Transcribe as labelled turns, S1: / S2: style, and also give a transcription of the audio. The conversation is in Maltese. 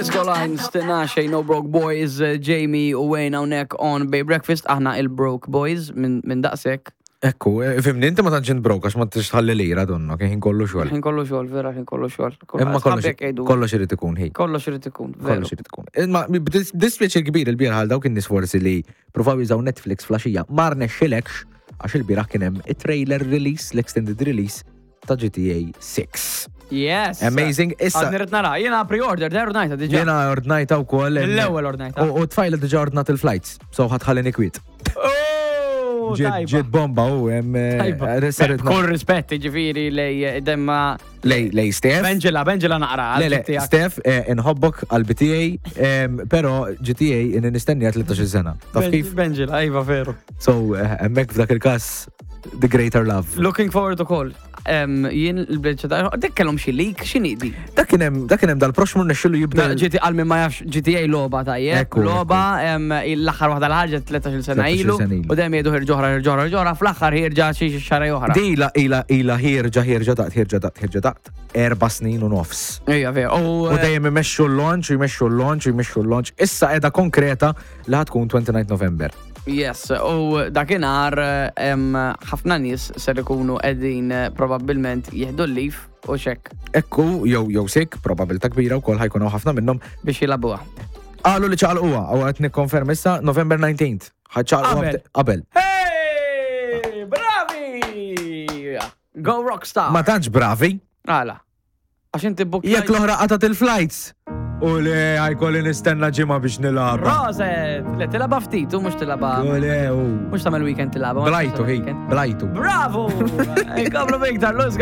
S1: Disco Lines, Tinashe, No Broke Boys, eh, Jamie u Wayne hawnhekk on Bay Breakfast, aħna il-Broke Boys minn min daqshekk.
S2: Ekku, eh, fimni, inti ma tantx int broke għax ma tix tħalli lira donna, kien ħin kollu xogħol.
S1: Ħin kollu xogħol, vera ħin kollu xogħol.
S2: Imma kollox kollox irid ikun ħi.
S1: Kollox irid ikun, veru.
S2: Kollox irid ikun. Imma b'dispjaċir kbir il-bieraħ għal dawk in-nies forsi li provaw jużaw Netflix flaxija ma rnexxilekx għax il-bieraħ kien hemm it-trailer release, l-extended release ta' GTA 6.
S1: Yes.
S2: Amazing. Issa.
S1: Għadni rrid nara. Jiena pre-order, der ordnajta diġà.
S2: Jiena ordnajta wkoll.
S1: L-ewwel ordnajta.
S2: U tfajla diġà ordnat il-flights, so ħatħallini kwiet.
S1: Oh,
S2: Ġiet bomba u hemm. Eh,
S1: Kull rispett ġifieri lej eh, demma.
S2: Lej, lej Steph.
S1: Benġela, benġela naqra.
S2: Le, le, Steph, eh, inħobbok għal BTA, pero GTA inni nistennija 13 sena. Taf kif?
S1: Benġela, iva veru.
S2: So, hemmhekk f'dak il-każ The Greater Love.
S1: Looking forward to call. Jien il-bridge ta' dik kellhom xi leak, x'inhi di?
S2: Dak kien hemm dak kien hemm dal-proxmu nexxilu jibda.
S1: GTA għal min ma jafx GTA logħba tajjeb. Logħba l-aħħar waħda l-ħarġet 13-il sena ilu u dejjem jgħidu ħirġa oħra ħirġa oħra ħirġa oħra fl-aħħar ħirġa xi xahar oħra.
S2: Di ila ila ila ħirġa ħirġa daqt ħirġa daqt ħirġa daqt erba' snin u nofs.
S1: Ejja vera.
S2: U eh, dejjem imexxu l-launch, jmexxu l-launch, jmexxu l-launch. Issa qiegħda konkreta li ħatkun 29 November.
S1: Yes, u dakinhar ħafna nies ser ikunu qegħdin eh, probabbilment jieħdu l-lif u xek.
S2: Ekku, jew jew sik, probabilità kbira wkoll ħajkunu ħafna minnhom
S1: biex jilagħbuha.
S2: Qalu li ċaqalquha, u qed nikkonferma issa November 19th. Ħaċċaqalquha qabel.
S1: Hey! Bravi! Go Rockstar!
S2: Ma tantx bravi.
S1: Għala. Għax inti book.
S2: Jekk l-oħra qatat il-flights. U le, għajkolli nistenna ġimgħa biex nilgħab.
S1: Proset! Le tilgħabha ftit, u mhux tilgħabha.
S2: U le, u.
S1: Mhux tagħmel weekend tilgħabha.
S2: Blajtu, hi, blajtu.
S1: Bravo! Inkomplu biktar, Luz.